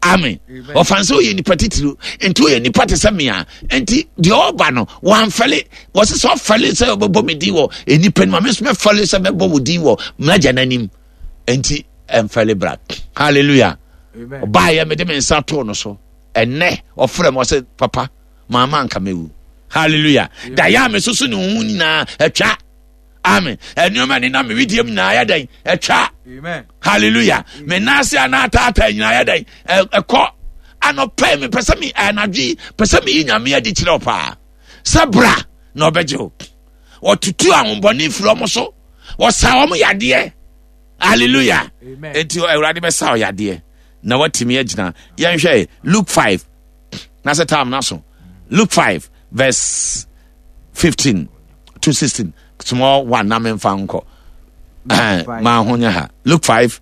amen ɔfa no sɛ ɔyɛ nipa titiriw nti ɔyɛ nipa te sɛ mea nti deɛ ɔba no wɔamfɛle wɔse sɛ ɔfɛle sɛ ɔbɛbɔ me din wɔ nnipa nim a me nso mɛfɛle sɛ mɛbɔ wo din wɔ m'agya no anim nti ɛmfɛle bra hallelujah ɔbaayɛ mede me nsa too no so ɛnɛ ɔfrɛ m ɔsɛ papa maama anka mɛwu hallelujah dayɛ a mesoso ne ho nyinaa atwa amen ɛnneɛma ne nam mewedeɛ mu nyinaa yɛ dɛn atwa hallelujah me nan ase a na ataataa nyinaa yɛ dɛn ɛkɔ anɔpɛ mepɛ sɛ me anadwo yi pɛ sɛ meyi nyame adi kyerɛ wo paa sɛ bra na ɔbɛgye wo wɔtutu ahombɔne firi ɔmo so wɔsa wɔn yadeɛ hallelujah eti awurade bɛsa wo yadeɛ na watumi agyina yɛnhwɛ luke 5 na sɛ tam na so luke 5 verse 15 to 16 small one na memfa nkɔ eh, maa ho nyɛ ha luke 5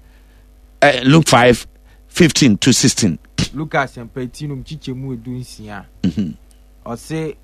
eh, luke 5 15 to 16 luka asɛmpa ti nom kyikyɛ mu edu nsia mhm. ɔse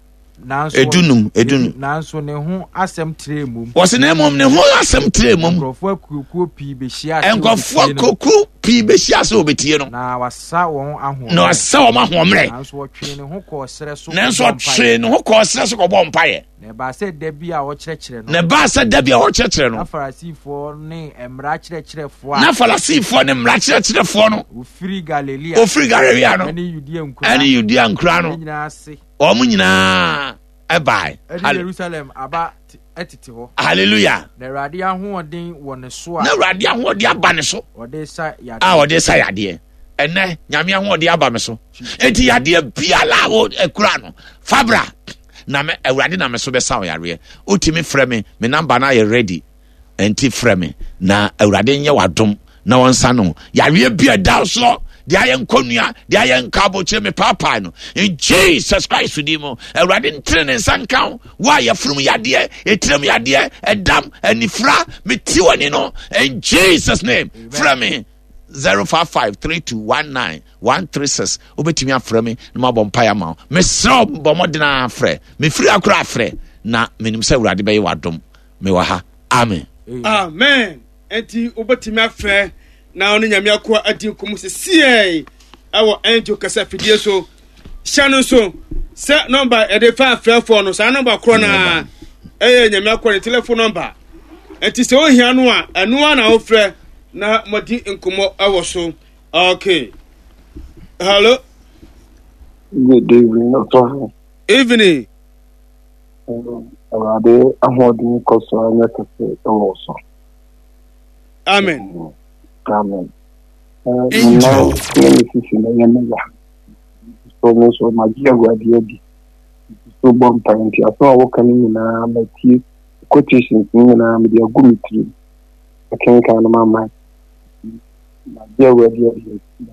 Nanso edunum, edunum. Nanso ne ho asɛm trɛɛ mum. Wɔsi na mmom ne ho asɛm trɛɛ mum. Nkurɔfoɔ akuokuo pii bɛhyia ase Nkurɔfoɔ akuokuo pii bɛhyia ase wɔbɛtie no. Na wasa wɔn ahoɔmmerɛ. Na wasa wɔn ahoɔmmerɛ. Nanso ɔtwee ne ho kɔɔ serɛ so. Nanso ɔtwee ne ho kɔɔ serɛ so kɔbɔ mpaeɛ. Na ɛbaa sɛ da bi a ɔkyerɛkyerɛ no. Na ɛbaa sɛ da bi a ɔkyerɛkyerɛ no. Na Farisifoɔ ne mmara kyerɛkyerɛfoɔ a. Na Farisifoɔ ne mmara kyerɛkyerɛfoɔ no. Wɔfiri Galilea. Wɔfiri Galilea no. Ɛne Yudea nkura. Ɛne Yudea nkura no. Nyinaa ase. Wɔn nyinaa ɛbae. Ɛne Yerusalem aba tete hɔ. Hallelujah. Na Awurade ahoɔden wɔ ne so a. Na Awurade ahoɔden aba ne so. Ɔde sa yadeɛ. A ɔde sa yadeɛ. Ɛnɛ Nyame ahoɔden aba me so. Eti yadeɛ biara a ɛkura no fabra na me Awurade na me so bɛsa wo yareɛ. Wotumi frɛ me me namba no ayɛ ready. Ɛnti frɛ me na Awurade nyɛ w'adom na wɔnsa no yareɛ bi a ɛda soɔ deɛ ayɛ nkɔnua deɛ ayɛ nka abokyere me paapaa no in Jesus Christ din mu Awurade ntene ne nsa nka wo wo a yɛfurum yadeɛ etiram yadeɛ ɛdam anifira meti w'ani no in Jesus name frɛ me 055 3219 136 wobɛtumi afrɛ me na mabɔ mpaeɛ ama wo mesrɛ wo bɔ mmɔden afrɛ mefiri akora afrɛ na menim sɛ Awurade bɛyɛ w'adom mewɔ ha amen amen enti wobɛtumi afrɛ na ɔne nyame akoa adi nkɔmmɔ sesiei ɛwɔ angel kasa fidie so hyɛ no nso sɛ nɔmba yɛde fa afrɛfoɔ no saa nɔmba korɔ no a ɛyɛ nyame akoa ne telefon nɔmba enti sɛ wohia no a ɛno a na wofrɛ na moadi nkɔmmɔ ɛwɔ so okay hello good evening ɔsɔfo evening Awurade ahoɔden kɔ so ara nyɛ kɛse wɔ wo so. Amen. Amen. Me nan ne me sisi na ɛyɛ me ya. So me nso magye Awurade adi. So bɔ mpae nti asɛm a woka no nyinaa matie quotations no nyinaa mede agu me tirim. Akenkan no mama. Magye Awurade adi nti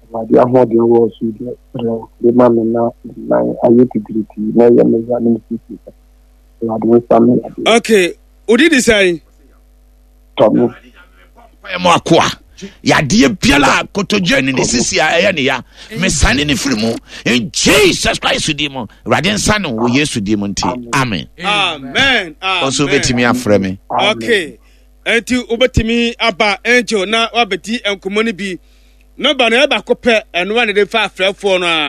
Awurade ahoɔden wɔ so deɛ brɛ de ma me na me nan ayɛ titiritii na ɛyɛ me ya ne me sisi. Awurade nsa me yadeɛ. Okay, wodi di sɛn? Tɔ me. Mpaeɛ mu akoa. Yadeɛ biara a kotodwe ne ne sisi a ɛyɛ ne ya. Mesane ne firi mu. In Jesus Christ din mu. Awurade nsa no wɔ Yesu din mu nti. Amen. Amen. Ɔnso wobɛtumi afrɛ me. Okay. Enti wobɛtumi aba Angel na wabɛdi nkɔmmɔ no bi. Nɔmba no ɛyɛ baako pɛ, ɛno a na de fa afrɛfoɔ no a.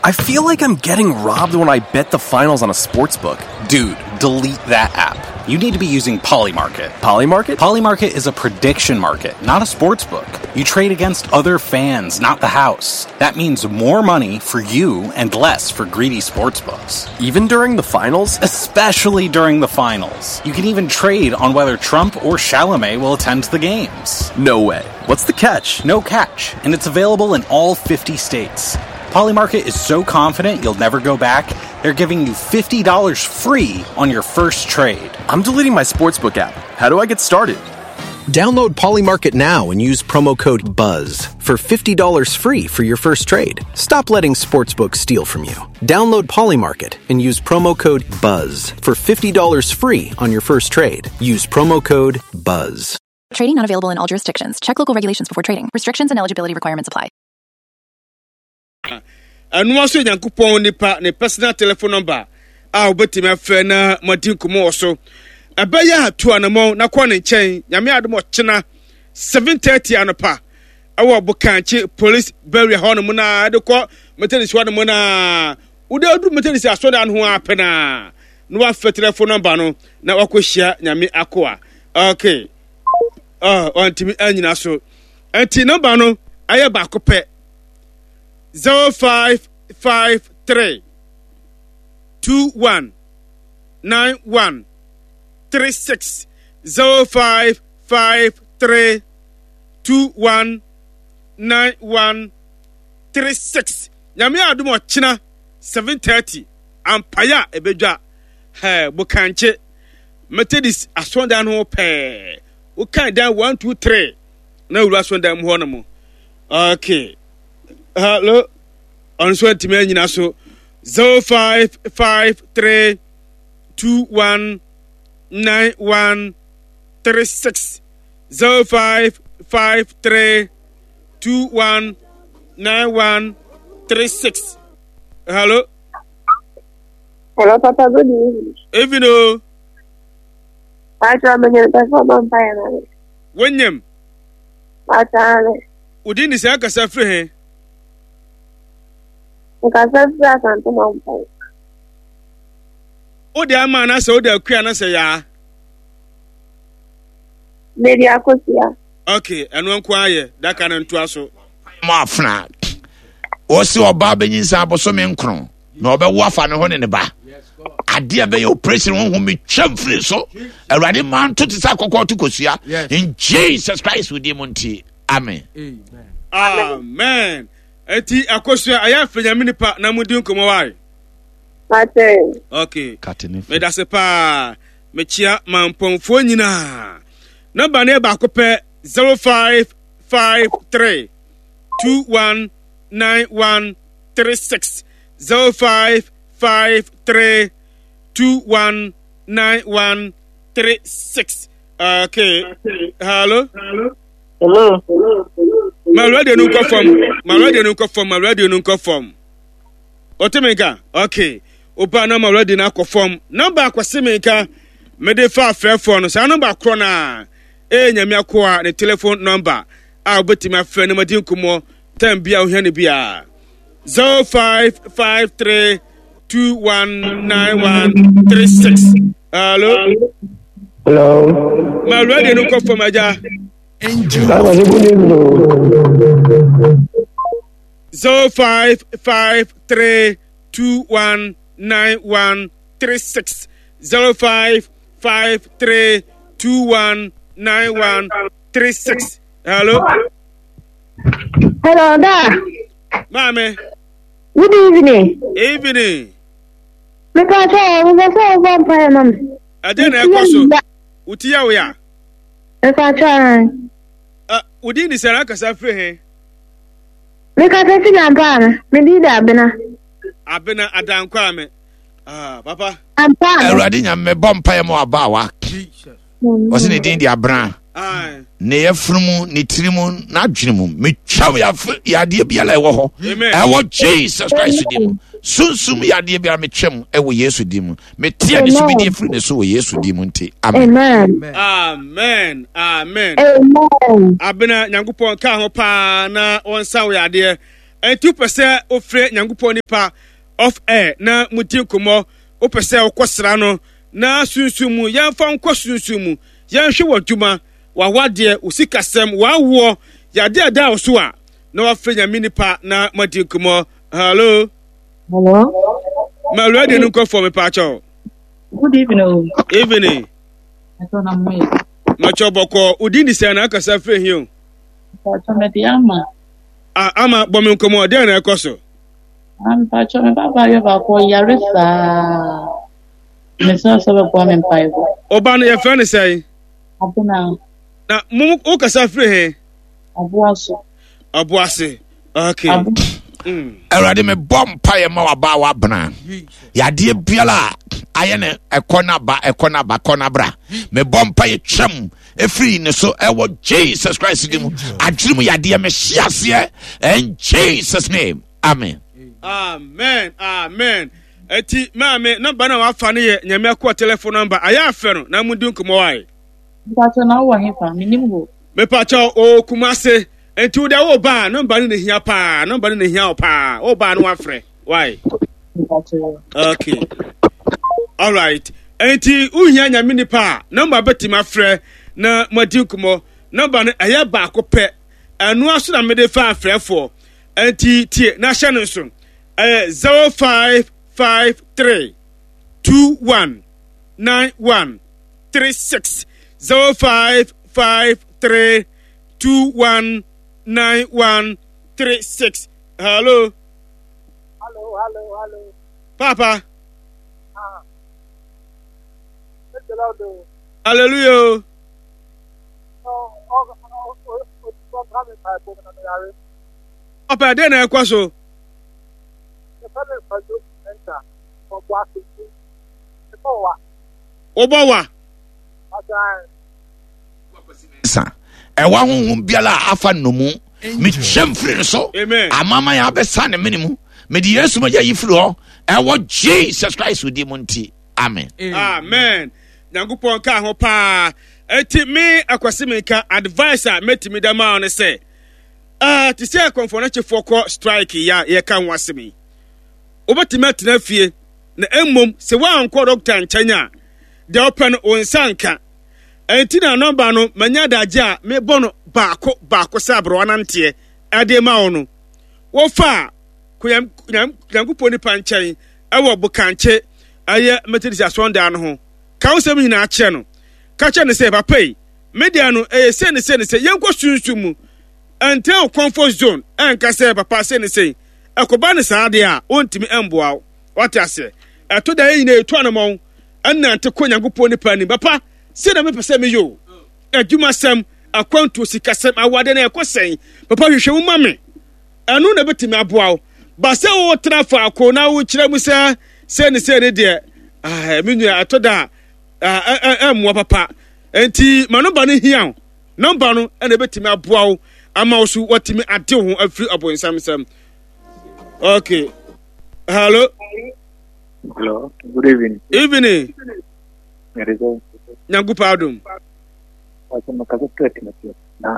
I feel like I'm getting robbed when I bet the finals on a sports book. Dude, delete that app. You need to be using Polymarket. Polymarket? Polymarket is a prediction market, not a sports book. You trade against other fans, not the house. That means more money for you and less for greedy sports books. Even during the finals? Especially during the finals. You can even trade on whether Trump or Chalamet will attend the games. No way. What's the catch? No catch, and it's available in all 50 states. Polymarket is so confident you'll never go back, they're giving you $50 free on your first trade. I'm deleting my sportsbook app. How do I get started? Download Polymarket now and use promo code BUZZ for $50 free for your first trade. Stop letting sportsbooks steal from you. Download Polymarket and use promo code BUZZ for $50 free on your first trade. Use promo code BUZZ. Trading not available in all jurisdictions. Check local regulations before trading. Restrictions and eligibility requirements apply. Ɛno ara nso yɛ Nyankopɔn nipa ne personal telephone number a wobɛtumi afrɛ na moadi nkɔmmɔ wɔ so. Ɛbɛyɛ a tu anamɔn na kɔ ne nkyɛn. Nyame adom ɔkyena 7:30 anɔpa ɛwɔ Bokankye Police Barrier hɔ nom na ɛde kɔ Methodist hɔ nom na wode aduru Methodist asɔredan ho ara pɛ na na wafrɛ telephone number no na wakɔhyia Nyame akoa. Okay. Oh, ɔntumi anyina so. Ɛnti number no ɛyɛ baako pɛ. 0553 21 91 36 0553 21 91 36 Nyame adom ɔkyena 7:30 ampaeɛ a ɛbɛdwa hɛ bokankye Methodist asɔndan ho pɛɛ wokan dan 1 2 3 na wura asɔndan mu hɔ nom okay hello ɔno nso antumi anyina so 0553 21 91 36 0553 21 91 36 hello Hello, Papa. Good evening. Evening, o. Pacho, I'm going to perform on Wonyam. Pacho, Wo din de sɛ akasa firi he? Nkasa firi Asante Mampɔn. Wode ama anaasɛ wode akua anaasɛ yaa? Mede akosua. Ok, ɛno nko ayɛ daka no ntoa so. Mo afena. Wɔsi ɔbaa bɛnyinsa abosome nkron na ɔbɛwo afa ne ho ne ne ba. Adeɛ bɛyɛ operation honhom metwam firi so. Awurade maa nto te sɛ akɔkɔ to kosua. In Jesus Christ wo din mu nti. Amen. Amen. Eti akosua ɛyɛ afɛ nyame nipa na mo di nkɔmɔ wae. Mate. Okay. Medase paa. Mekyia mampɔnfoɔ nyinaa. Nɔmba no yɛ baako pɛ 0553 219136 0553 219136. Okay. Hello. Hello. Ma radio no nkɔ fam. Ma radio no nkɔ fam. Ma radio no nkɔ fam. Ɔte me nka? Okay. Oba na ma radio no akɔ fam. Nɔmba akwasi me nka. Mede fa afrɛfoɔ no. Saa nɔmba korɔ no a. Ɛyɛ Nyame akoa ne telephone nɔmba a wobɛtumi afrɛ no madi nkɔmmɔ time bi a wohia no biara. 0553 219136. Hello. Hello. Ma radio no nkɔ fam agya. Baba, good evening. 0553 219136. 0553 219136. Hello. Hello, Da. Maame. Good evening. Evening. Mepɛ sɛ mepɛ sɛ wobɔ mpaeɛ ma me. Ɛdeɛ na ɛkɔ so. Wo ti yɛ wo ya. Mepɛ sɛ. Wo din de sɛ akasa firi he? Mekasa fi Nampaa me. Me din de Abena. Abena Adankwame. Ah, papa. Awurade Nyame mebɔ mpaeɛ ma wabaawa. Ɔse ne din de Abena. Ne yɛfunu mu, ne tiri mu, n'adwene mu. Metwa wo yadeɛ biara ɛwɔ hɔ. Ɛwɔ Jesus Christ din mu. Sunsum yadeɛ biara metwa mu ɛwɔ Yesu din mu. Meteɛ ne so bidie firi ne so wɔ Yesu din mu nti. Amen. Amen. Amen. Abena Nyankopɔn ka ho paa na wɔnsa wo yadeɛ. Ɛnti wopɛ sɛ wofrɛ Nyankopɔn nipa off air na mudi nkɔmmɔ, wopɛ sɛ wokɔsra no na sunsum mu, yɛmfa nkɔ sunsum mu, yɛnhwɛ w'adwuma, w'awadeɛ, wo sikasɛm, w'awoɔ, yadeɛ a ɛda wo so a, na wafrɛ Nyame nipa na moadi nkɔmmɔ. Hello. Hello. Ma radio no nkɔ fam mepaakyɛw. Good evening. O. Evening. Ɛtɔ na mo yɛ. Makyɛw bɔkɔ, wo din di sɛn na akasa firi he o? Mpakyɛw mede ama. Ah, ama bɔ me nkɔmmɔ, dɛn na ɛkɔ so? Ah, mpakyɛw me ba baayɛ baako ɔyare saa. Mesrɛ sɛ bɛboa me mpaebɔ. Ɔba no yɛfrɛ no sɛn? Abena. Na mo wokasa firi he? Ɔboase. Ɔboase. Okay. Mm. Awurade mebɔ mpaeɛ ma wabaa wabena yadeɛ biara a ayɛ no ɛkɔ no aba ɛkɔ no aba kɔ no abra mebɔ mpaeɛ twam ɛfiri ne so ɛwɔ Jesus Christ din mu adwene mu yadeɛ mehye aseɛ in Jesus name amen. Amen amen eti maame nɔmba na wafa no yɛ nyame akoa telephone nɔmba ayɛ afɛ no na mudi nkɔmmɔ wae. Mpakyɛ na wowɔ hefa menim hɔ. Mepakyɛ o Kumase nti wo deɛ wo ba a nɔmba no na ehia paa nɔmba no na ehia wo paa wo ba no wafrɛ why. Okay alright nti wohia nyame nipa a nɔmba bɛtumi afrɛ na moadi nkɔmmɔ nɔmba no ɛyɛ baako pɛ ɛno aso na mede fa afrɛfoɔ nti tie na hyɛ no nso ɛyɛ 0553 21 91 36 0553 21 91 36 hello Hello, hello, hello. Papa. Ah. Praise the Lord. Oh. Hallelujah. Oh, oh, oh, oh, oh, Papa, den na ɛkɔ so. Wobɔ wa. Sa ɛwɔ ahohom biara a afa nnomu mekyɛm firi no so amama yɛ abɛsa ne mene mu mede yesu mogya yi firi hɔ ɛwɔ jesus christ di mu nti amen amen nyankopɔn ka ho paa ɛti me akwasi menka advice a mɛtumi da maa no sɛ uh, te sɛ akɔmfoɔ no kyefoɔ kɔ strike yi a yɛka ho asɛm yi wobɛtumi atena fie na mmom sɛ woankɔ dɔkta nkyɛn a deɛ wopɛ no wo nsa nka Ɛnti na nɔmba no manya adagye a mebɔ no baako baako sɛ aberewa nanteɛ ɛde ma wo no. Wofa a, kɔ Nyankopɔn nipa nkyɛn ɛwɔ Bokankye ɛyɛ Methodist asɔndan no ho. Ka wo nsɛm nyinaa kyerɛ no. Ka kyerɛ no sɛ, papa yi, me deɛ no ɛyɛ sei ne sei ne sei, yɛnkɔ sunsum mu. Ɛntena wo comfort zone ɛnka sɛ papa sei ne sei. Ɛkɔba no saa deɛ a, ɔntumi ɛmboa wo. Wate aseɛ? Ɛto da yɛn nyinaa yɛtu anamɔn ɛnante kɔ Nyankopɔn nipa anim. Papa, sei na mepɛ sɛ meyɛ o. Adwumasɛm, akwantuo, sikasɛm, awadeɛ no ɛkɔ sɛn? Papa hwehwɛ mu ma me. Ɛno na ɛbɛtumi aboa wo. Ba sɛ wotena faako na wokyerɛ mu sɛ sei ne sei ne deɛ, ah, me nua ɛtɔ da a ɛmmoa papa. Enti ma nɔmba no hia wo. Nɔmba no ɛna ɛbɛtumi aboa wo ama wo so watumi ade wo ho afiri ɔbonsam nsam. Okay. Hello. Hello. Good evening. Evening. Nyankopɔn adom. Ɔsɛ mekasa firi Atimati na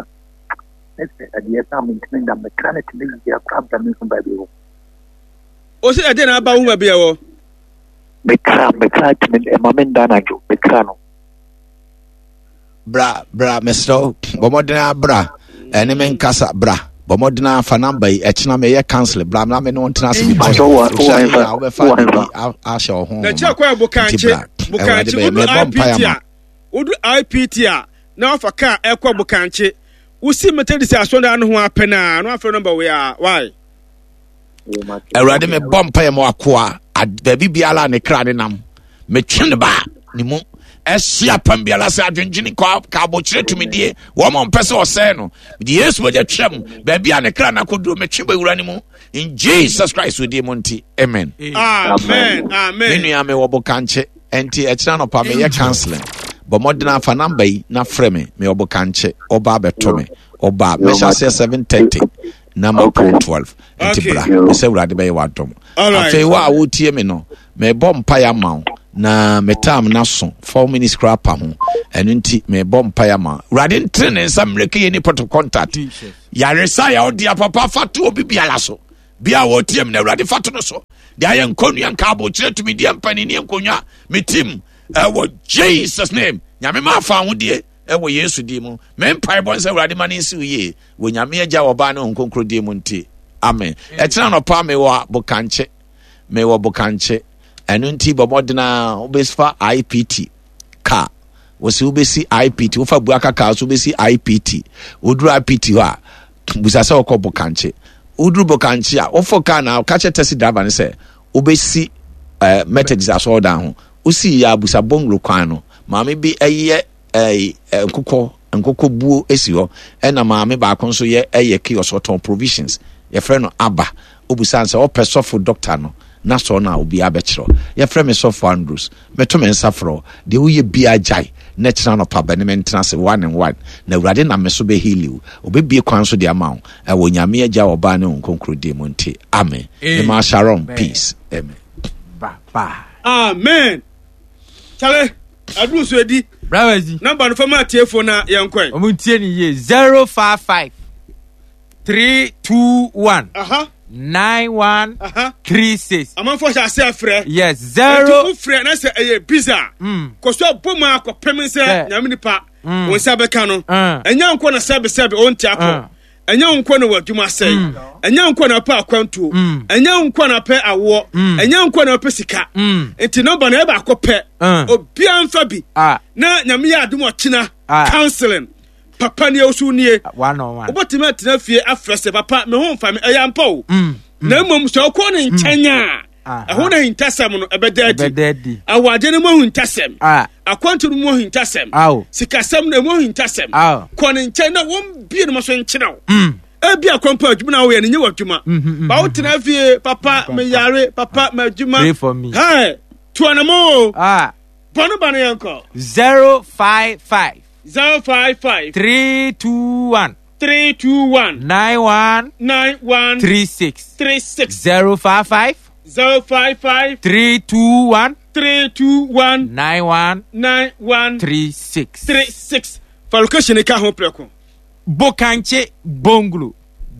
ɛsɛ adeɛ sɛ mentumi nda mekra no tumi yia kora bra me hu baabi wɔ. Ɔsɛ ɛdeɛ na aba wo baabi ɛwɔ. Mekra mekra tumi ɛma me nda anadwo mekra no. Bra bra mesrɛ wo bɔ mmɔden ara bra ɛne me nkasa bra bɔ mmɔden ara fa namba yi ɛkyena meyɛ council bra na me ne wo ntena ase because wohyɛ yi a wobɛfa ade bi ahyɛ wo ho na kyerɛ kwan nti bokankye bra awurade bokankye bɛyɛ wodu mebɔ mpaeɛ ipt ama a wodu ipt a na wafa kaa ɛkɔ bokankye wosi methodist asɔndan no ho apɛ na na wafrɛ nɔmba wei a why Awurade mebɔ mpaeɛ ma wakoa baabi biara a ne kra ne nam metwe ne ba ne mu ɛsi apam biara sɛ adwendwene ka abokyerɛ tumidie wɔn a mpɛ sɛ ɔsɛe no mede yesu mogya twam baabi a ne kra no akɔduro metwe bɛwura ne mu. In Jesus Christ wo din mu nti, amen. Amen. Amen. Me nua mewɔ bokankye, ɛnti ɛkyena nɔpa meyɛ counseling. Bɔ mmɔden afa namba yi na frɛ me, mewɔ bokankye, ɔba abɛto me. Ɔba mɛhyɛ aseɛ 7:30 na mapɔn 12. Nti bra, mesɛ Awurade bɛyɛ w'adom. Afei wo a wotie me no, mebɔ mpaeɛ ama wo na me time no aso 4 minutes koraa pa ho. Ɛno nti mebɔ mpaeɛ ama wo. Awurade ntene ne nsa mmerɛka yɛ ni point of contact. Yaresa yɛ ɔdea papa fa to obi biara so. Bia a wɔtie me na Awurade fa to no so. Deɛ ayɛ nkɔnnua nka abokyerɛ tumideɛ mpanini nkonnwa me tim ɛwɔ Jesus name. Nyame ma afa ahodie ɛwɔ Yesu din mu. Me mpaebɔ nsɛ Awurade ma ne nsi wo yie wɔ Nyame Agya Ɔba ne Honhom Kronkron din mu nti. Amen. Ɛkyena anɔpa mewɔ Bokankye. Mewɔ Bokankye. Ɛno nti bɔ mmɔden a wobɛfa IPT car. Wɔsi wobɛsi IPT, wofa Buaka car so wobɛsi IPT. Woduru IPT hɔ a, busa sɛ wɔkɔ Bokankye. Woduru Bokankye a, wofo car na ka kyerɛ taxi driver no sɛ wobɛsi eh, Methodist asɔredan ho. Wosii yɛ a busa Bonglo kwan no. Maame bi ɛyɛ eh, nkokɔ nkokɔ buo si hɔ ɛna maame baako nso yɛ ɛyɛ kiosk ɔtɔn provisions yɛfrɛ no aba obusa sɛ ɔpɛ sɔfo dɔkta no na sɔɔ no a obiara bɛkyerɛ yɛfrɛ me sɔfo Andrews meto me nsa frɛ deɛ woyɛ biara gyae na kyena anɔpa bɛne me ntena ase one and one na awurade nam me so bɛheali wo obɛbie kwan so de ama wo ɛwɔ Nyame agya ɔbaa ne Honhom din mu nti amen mema shalom peace amen. Amen. Charlie, aduru so edi. Bravazi. Namba no fama atiefo na yɛn kɔɛ. Ɔmo ntie ne yie 055 321 91 36. Amanfoɔ hyɛ ase afrɛ. Yes zero. Ɛti wofrɛ na sɛ ɛyɛ biza. Kɔ so abɔ mu akɔpem sɛ nyame nipa wɔn nsa bɛka no. Ɛnyɛ nkɔ na sɛbe sɛbe ɔnti akɔ. Ɛnyɛ wo nko na w'adwuma asɛe. Mm. Ɛnyɛ wo nko na wopɛ akwantuo. Mm. Ɛnyɛ wo nko na wopɛ awoɔ. Mm. Ɛnyɛ wo nko na wopɛ sika. Nti nɔmba no ɛyɛ baako pɛ. Obiara mfa bi. Ah. Na nyame yɛ adom ɔkyena ah. counseling. Papa nie osu nie. Wobɛtumi atena fie afrɛ sɛ papa me ho mfa me ɛyɛ ampa o. Na mmom sɛ wokɔ ne nkyɛn a ɛho na ahintasɛm no ɛbɛda adi awade no mu ahintasɛm akwantu no mu ahintasɛm sikasɛm no mu ahintasɛm kɔ ne nkyɛn na wɔn bie no ma so nkyerɛ wo mm. ebi akwampo adwuma na woyɛ no nyɛ w'adwuma mm, mm, mm, ba wotena fie papa meyare papa m'adwuma hey tuanamo o ah. bɔne ba no yɛnkɔ 055 055 321 3 2 1. 9 1. 9 1. 3 6. 3 6. 0 5 5. 0 5 5. 3 2 1. 3 2 1. 9 1. 9 1. 3 6. 3 6. Fa location ka ho prɛko. Bokankye Bonglo.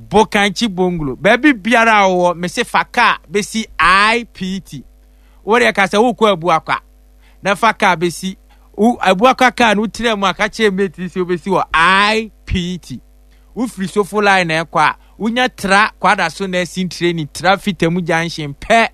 Bokankye Bonglo. Baabi biara a wowɔ, mese fa kaa bɛsi IPT. Wo deɛ ka sɛ wokɔ Abuakwa na fa kaa bɛsi Abuakwa kaa no wotena mu a ka kyerɛ mate sɛ wobɛsi wɔ IPT. Wofiri Sofo line na ɛkɔ a wonya tra Kwadaso nursing training tra Fitamu junction pɛ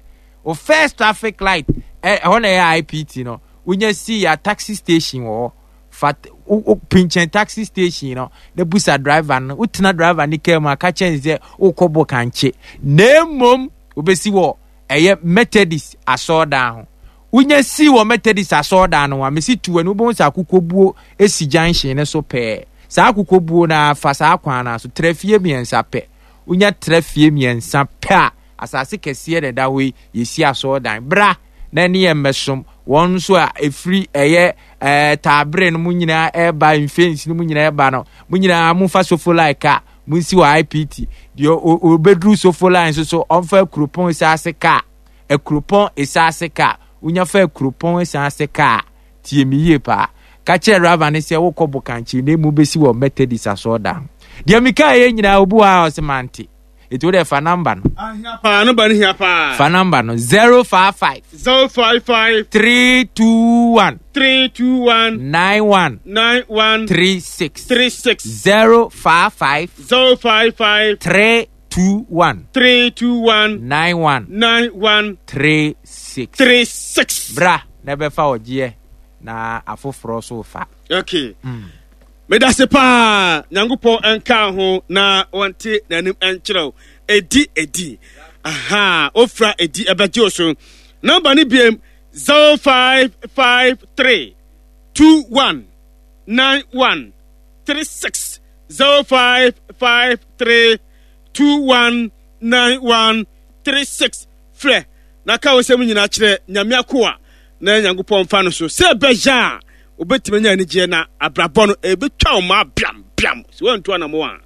o first traffic light ɛhɔ na ɛyɛ IPT no wonya si ya taxi station wɔ hɔ fa wo pinkyɛn taxi station no na busa driver no wotena driver ne kaa mu a ka kyerɛ sɛ wokɔ Bokankye na mmom wobɛsi wɔ ɛyɛ Methodist asɔɔdan ho. Wonya sii wɔ Methodist asɔɔdan no ho a, mesi tu w'ani, wobɛhu sɛ akokɔbuo si junction no so pɛɛ. Saa akokɔbuo no ara, fa saa kwan no ara so, tra fie mmiɛnsa pɛ. Wonya tra fie mmiɛnsa pɛ a, asase kɛseɛ na ɛda hɔ yi, yɛsi asɔɔdan. Bra na ɛne yɛn mmɛsom. Wɔn nso a ɛfiri ɛyɛ ɛɛ taabere no mu nyinaa ɛreba, mfensi no mu nyinaa ɛreba no, mo nyinaa momfa sofolai ka. Monsi wɔ IPT. Deɛ ɔbɛduru Sofo line nso so, ɔmfa Akuropɔn Esaase kaa. Akuropɔn Esaase kaa. Wonya fa Akuropɔn Esaase kaa. Tie me yie paa. Ka kyerɛ driver no sɛ wokɔ Bokankye na emu bɛsi wɔ Methodist asɔɔdan ho. Deɛ mekaeɛ nyinaa obi wɔ ha a ɔse mante. Eti wo deɛ fa number no. Ahia paa, number no hia paa. Fa number no 055. 055. 321. 321. 91. 91. 36. 36. 055. 055. 321. 321. 91. 91. 36. 36. Bra na ɛbɛfa ɔgyeɛ na afoforɔ so fa. Okay. Mm. Medase paa Nyankopɔn nka ho na wɔnte n'anim nkyerɛ wo. Edi edi. Aha, ofra edi ɛbɛgye wo so. Nɔmba no biem 0553 21 91 36 0553 21 9136 frɛ na ka wo nsɛm nyinaa kyerɛ Nyame akoa na Nyankopɔn mfa no so sɛ ɛbɛyɛ a wobɛtumi anya anigyeɛ na abrabɔ no ɛbɛtwa wo maa biam biam sɛ woantu anamo a.